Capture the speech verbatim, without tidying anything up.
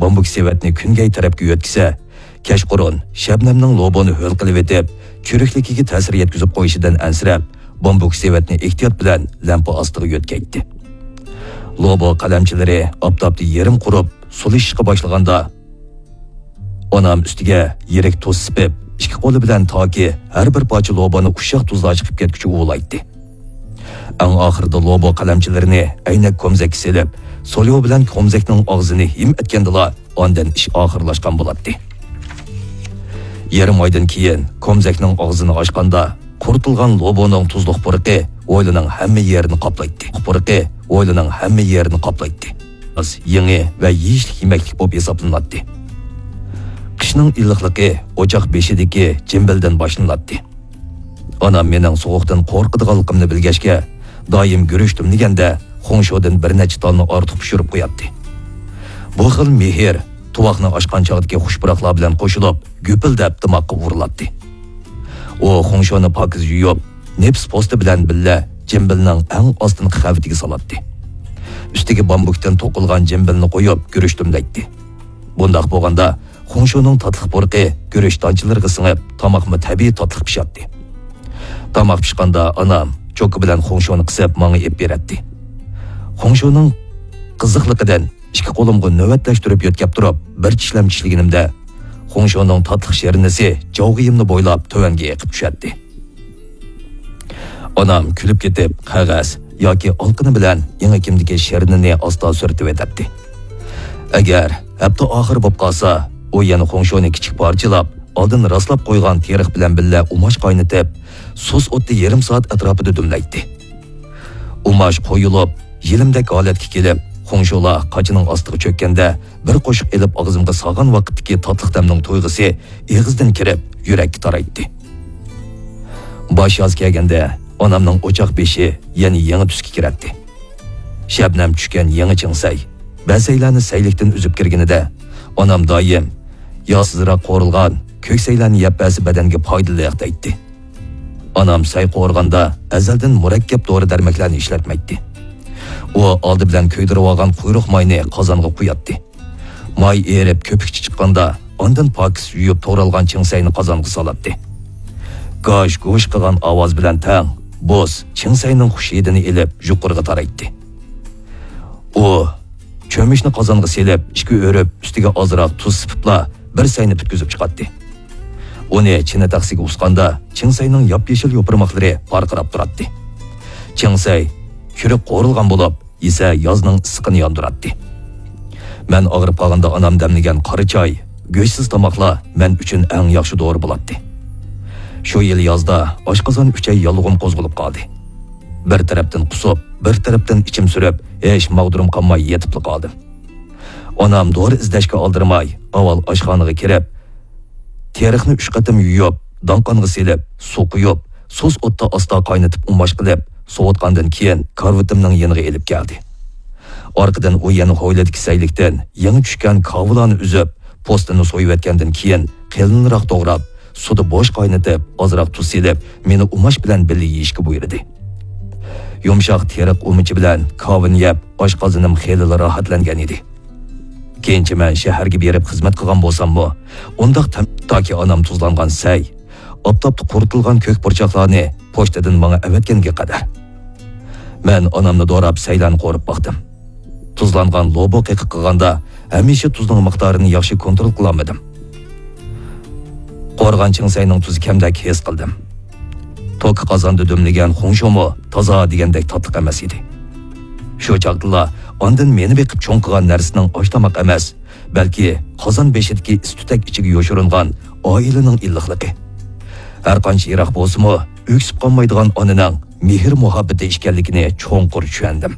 بامبۇك سېۋەتنى كۈنگەي تەرەپكە يۆتكىسە، كەچقۇرۇن شەبنەمنىڭ لوبونى ھۆل قىلىۋېتىپ، چۈرۈكلۈكىگە تەسىر يەتكۈزۈپ قويۇشىدىن ئەنسىرەپ، بامبۇك سېۋەتنى ئېھتىيات بىلەن لەمپە ئاستىغا يۆتكەيتتى. لوبو قەلەمچىلىرى ئاپتاپتا يېرىم قۇرۇپ، سۇلىشىشقا باشلىغاندا، ئانام ئۈستىگە يىرىك تۇز سېپىپ، ئىككى قولى بىلەن تاكى ھەر بىر پارچە لوبانى ئۇششاق تۇزلار چىقىپ كەتكۈچە ئۇۋىلايتتى. ئەڭ ئاخىرىدا لوبو قەلەمچىلىرىنى ئەينەك كومزەككە سېلىپ، سوليو بىلەن كومزەكنىڭ ئاغزىنى ھىم ئەتكەندىلا، ئاندىن ئىش ئاخىرلاشقان بولاتتى. يېرىم ئايدىن كېيىن كومزەكنىڭ ئاغزىنى ئاچقاندا، قۇرۇتۇلغان لوبونىڭ تۇزلۇق پۇرىقى ھويلىنىڭ ھەممە يېرىنى قاپلايتتى. پۇرىقى ھويلىنىڭ ھەممە يېرىنى قاپلايتتى. يېڭى ۋە يېيىشلىك يېمەكلىك بولۇپ ھېسابلىناتتى. قىشنىڭ ئىللىقلىقى ئوچاق بېشىدىكى جىمبىلدىن باشلىناتتى. ئانام مېنىڭ سوغۇقتىن قورقىدىغانلىقىمنى بىلگەچكە، دائىم گۈرۈچ دۈملىگەندە خۇڭشودىن بىر نەچچە تالنى ئارتۇق پىشۇرۇپ قوياتتى. بۇ خىل مېھىر تۇۋاقنى ئاچقان چاغدىكى خۇش پۇراقلار بىلەن قوشۇلۇپ، گۈپۈلدەپ دىماغقا ئۇرۇلاتتى. ئۇ خۇڭشونى پاكىز يۇيۇپ، نېپىز پوستى بىلەن بىللە جىمبىلنىڭ ئەڭ ئاستىنقى قەۋىتىگە سالاتتى. ئۈستىگە بامبۇكتىن توقۇلغان جىمبىلنى قويۇپ، گۈرۈچ دۈملەيتتى. بۇنداق بولغاندا، خۇڭشونىڭ تاتلىق پۇرىقى گۈرۈچ دانچىلىرىغا سىڭىپ، تاماقمۇ تەبىئىي تاتلىق پىشاتتى. تاماق پىشقاندا ئانام چوكا بىلەن خۇڭشونى قىسىپ ماڭا ئېلىپ بېرەتتى. خۇڭشونىڭ قىزىقلىقىدىن ئىككى قولۇمغا نۆۋەتلەشتۈرۈپ يۆتكەپ تۇرۇپ، بىر چىشلەم چىشلىگىنىمدە، خۇڭشونىڭ تاتلىق شىرنىسى جاۋغىيىمنى بويلاپ تۆۋەنگە ئېقىپ چۈشەتتى. ئانام كۈلۈپ كېتىپ، قەغەز ياكى ئالقىنى بىلەن ئېڭىكىمدىكى شىرنىنى ئاستا سۈرتۈۋېتەتتى. ئەگەر ھەپتە ئاخىرى بولۇپ قالسا، ئۇ يەنە خۇڭشونى كىچىك پارچىلاپ، ئالدىن راسلاپ قويغان تېرىق بىلەن بىللە ئۇماش قاينىتىپ، سۇس ئوتتا يېرىم سائەت ئەتراپىدا دۈملەيتتى. ئۇماش قويۇلۇپ، يېلىمدەك ھالەتكە كېلىپ، خۇڭشۇلار قاچىنىڭ ئاستىغا چۆككەندە، بىر قوشۇق ئېلىپ ئاغزىمغا سالغان ۋاقىتتىكى تاتلىق تەمنىڭ تۇيغۇسى ئېغىزدىن كىرىپ، يۈرەككە تارايتتى. باش ياز كەلگەندە، ئانامنىڭ ئوچاق بېشى يەنە يېڭى تۈسكە كىرەتتى. شەبنەم چۈشكەن يېڭى چىڭسەي، بەسەيلەرنى سەيلىكتىن ئۈزۈپ كىرگىنىدە، ئانام دائىم، «ياسىزراق قورۇلغان كۆك سەيلەرنى يەپ بەرسە بەدەنگە پايدىلىق» دەيتتى. ئانام سەي قورۇغاندا ئەزەلدىن مۇرەككەپ دورا-دەرمەكلەرنى ئىشلەتمەيتتى. ئۇ ئالدى بىلەن كۆيدۈرۈۋالغان قۇيرۇق ماينى قازانغا قۇياتتى. ماي ئېرىپ، كۆپۈكچە چىققاندا، ئاندىن پاكىز يۇيۇپ توغرالغان چىڭسەينى قازانغا سالاتتى. گاش-گۇش قىلغان ئاۋاز بىلەن تەڭ، بوز چىڭسەينىڭ خۇش ھىدىنى ئېلىپ، يۇقىرىغا تارايتتى. ئۇ چۆمۈچنى قازانغا سېلىپ، ئىككى ئۆرۈپ، ئۈستىگە ئازراق تۇز سېپىپلا، بىر سەينى پۈتكۈزۈپ چىقاتتى. ئۇنى چىنە تەخسىگە ئۇسقاندا، چىڭسەينىڭ ياپيېشىل يوپۇرماقلىرى پارقىراپ تۇراتتى. چىڭسەي چۈرۈك قورۇلغان بولۇپ، يېسە يازنىڭ ئىسسىقىنى ياندۇراتتى. مەن ئاغرىپ قالغاندا ئانام دەملىگەن قارا چاي، گۆشسىز تاماقلار مەن ئۈچۈن ئەڭ ياخشى دورا بولاتتى. شۇ يىل يازدا ئاشقازان ئۈچەي ياللۇغۇم قوزغىلىپ قالدى. بىر تەرەپتىن قۇسۇپ، بىر تەرەپتىن ئىچىم سۈرۈپ، ھېچ ماغدۇرۇم قالماي يېتىپلا قالدىم. ئانام دورا ئىزدەشكە ئالدىرىماي، ئاۋۋال ئاشخانىغا كىرىپ، تېرىقنى ئۈچ قېتىم يۇيۇپ، داڭقانغا سېلىپ، سۇ قۇيۇپ، سۇس ئوتتا ئاستا قاينىتىپ ئۇماش قىلىپ، سوۋۇتقاندىن كېيىن كارىۋىتىمنىڭ يېنىغا ئېلىپ كەلدى. ئارقىدىن ئۇ يەنە ھويلىدىكى سەيلىكتىن يېڭى چۈشكەن كاۋىلارنى ئۈزۈپ، پوستىنى سويۇۋەتكەندىن كېيىن قېلىنراق توغراپ، سۇدا بوش قاينىتىپ، ئازراق تۇز سېلىپ، مېنى ئۇماش بىلەن بىللە يېيىشكە بۇيرۇدى. يۇمشاق تېرىق ئۇمىچى بىلەن كاۋىنى يەپ، ئاشقازىنىم خېلىلا راھەتلەنگەن ئىدى. كېيىنچە مەن شەھەرگە بېرىپ خىزمەت قىلغان بولساممۇ، ئۇنداق تەم، تاكى ئانام تۇزلانغان سەي، ئاپتاپتا قۇرۇتۇلغان كۆك پۇرچاقلارنى پوچتىدىن ماڭا ئەۋەتكەنگە قەدەر. مەن ئانامنى دوراپ سەيلەرنى قورۇپ باقتىم. تۇزلانغان لوبو قېقىق قىلغاندا ھەمىشە تۇزنىڭ مىقدارىنى ياخشى كونترول قىلالمىدىم. قورۇغان چىڭسەينىڭ تۇزى كەمدەك ھېس قىلدىم. توكا قازاندا دۈملىگەن خۇڭشۇمۇ تازا دېگەندەك تاتلىق ئەمەس ئىدى. شۇ چاغدىلا ئاندىن مېنى بېقىپ چوڭ قىلغان نەرسىنىڭ ئاش-تاماق ئەمەس، بەلكى قازان بېشىدىكى ئىس-تۈتەك ئىچىگە يوشۇرۇنغان ئائىلىنىڭ ئىللىقلىقى. ھەرقانچە يىراق بولسىمۇ، ئۆكسۈپ قالمايدىغان ئانىنىڭ مېھىر-مۇھەببىتى ئىكەنلىكىنى چوڭقۇر چۈشەندىم.